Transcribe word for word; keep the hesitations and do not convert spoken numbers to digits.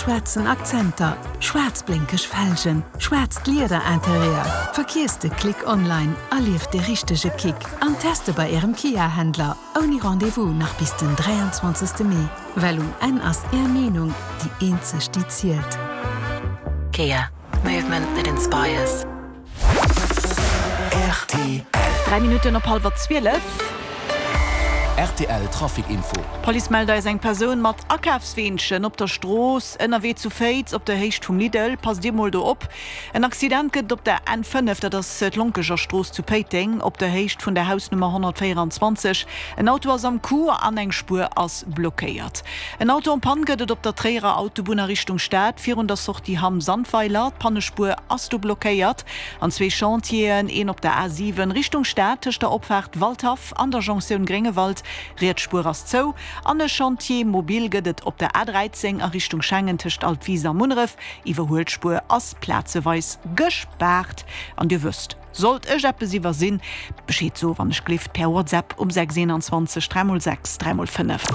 schwaarzen Akzenter, schwaarz blénkeg Felgen, schwaarzt Lieder-Interieur. Vergiesst de Klick online, erlieft de richtege Kick an teste bei Ärem Kia-Händler. Ouni Rendez-vous nach bis den dräianzwanzegste Mee. Well um Enn ass Är Meenung déi eenzeg déi zielt. Kia. Movement that inspires. Rtl. Dräi Minutten op hallwer zwielef. Rtl Trafic Info. D'Police mellt eis eng Persoun mat Akafsweenchen op der Strooss ënnerwee zu Féiz op der Héicht vum Lidl. Passt dir mol do op. En Accident gëtt et op der N fënnef, dat ass d'Lonkeger Strooss zu Péiteng, op der Héicht vun der Hausnummer honnertvéieranzwanzeg. En Auto ass am Coup an eng Spuer ass blockéiert. En Auto en panne gëtt et op der Tréierer Autobunn a Richtung Stad virun der Sortie Hamm-Sandweiler. D'Pannespuer ass do blockéiert. An zwee Chantieren, een op der A siwen Richtung Stad tëscht der Opfaart Waldhaff an der Jonktioun Gréngewald, riets Spuer ass zou. An e Chantier mobile gëtt et op der A dräizéng a Richtung Schengen tëscht Altwis a Munneref, Iwwerhuelspuer ass plazeweis gespaart. An Dir wësst, sollt ech eppes iwwersinn, Bescheed soe wann ech gleeft per WhatsApp um sechs eenanzwanzeg dräi mol sechs dräi mol fënnef.